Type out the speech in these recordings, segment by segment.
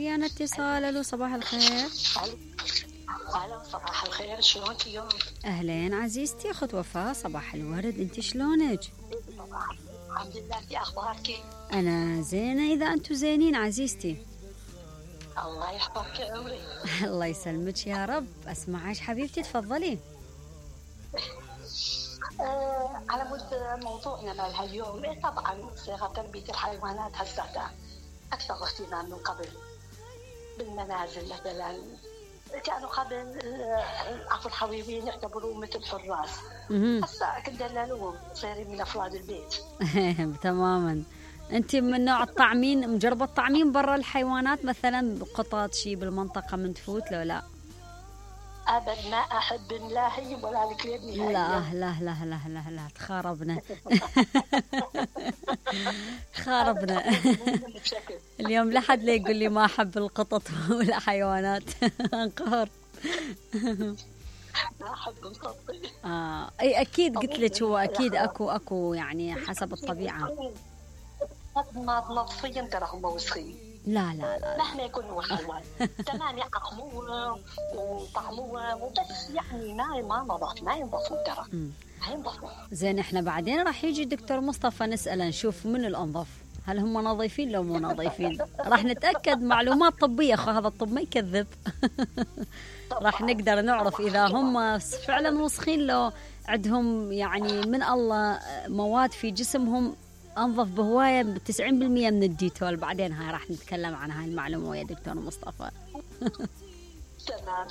ويانا اتصال. الو صباح الخير. هلا صباح الخير، شلونك اليوم؟ اهلين عزيزتي اخت وفاء، صباح الورد، انت شلونك؟ الحمد لله، انت اخبارك؟ انا زينه اذا انتم زينين عزيزتي. الله يحفظك يا عمري. الله يسلمك يا رب. اسمعك حبيبتي تفضلي. على مود موضوعنا مالها اليوم، طبعا صيغه تربيه الحيوانات هسه اكثر اهتمام من قبل. بالمنازل مثلا كانوا قبل عفوا الحبيبين يعتبروا مثل حراس، هسه كندللوهم صايرين من افراد البيت. تماما. انت من نوع الطعمين، مجربه الطعمين برا الحيوانات مثلا قطط شي بالمنطقه من تفوت لو لا؟ ابد ما احب لا هي ولا الكلاب نهائيا. لا تخاربنا. خاربنا. اليوم لا حد لا يقول لي ما احب القطط ولا حيوانات. انقهر. ما احب القطط. اي اكيد قلت لك هو اكيد اكو يعني حسب الطبيعه. نظفيا ترى هم وسخين. لا مهما يكون هو حيوان تمام يعقموه وطعموه وبس، يعني ما نظف، ما ينظفون ترى. ما ينظفون. زين احنا بعدين راح يجي الدكتور مصطفى نسأله نشوف من الأنظف، هل هم نظيفين لو مو نظيفين. راح نتأكد معلومات طبية، هذا الطب ما يكذب. راح نقدر نعرف إذا هم فعلا وسخين لو عندهم يعني من الله مواد في جسمهم أنظف بهواية 90% من الديتول. بعدين هاي راح نتكلم عن هاي المعلومة ويا دكتور مصطفى. تمام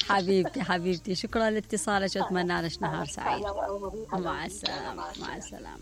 حبيبي. حبيبتي شكرا لاتصالك واتمنى لك نهار سعيد. مع السلامة.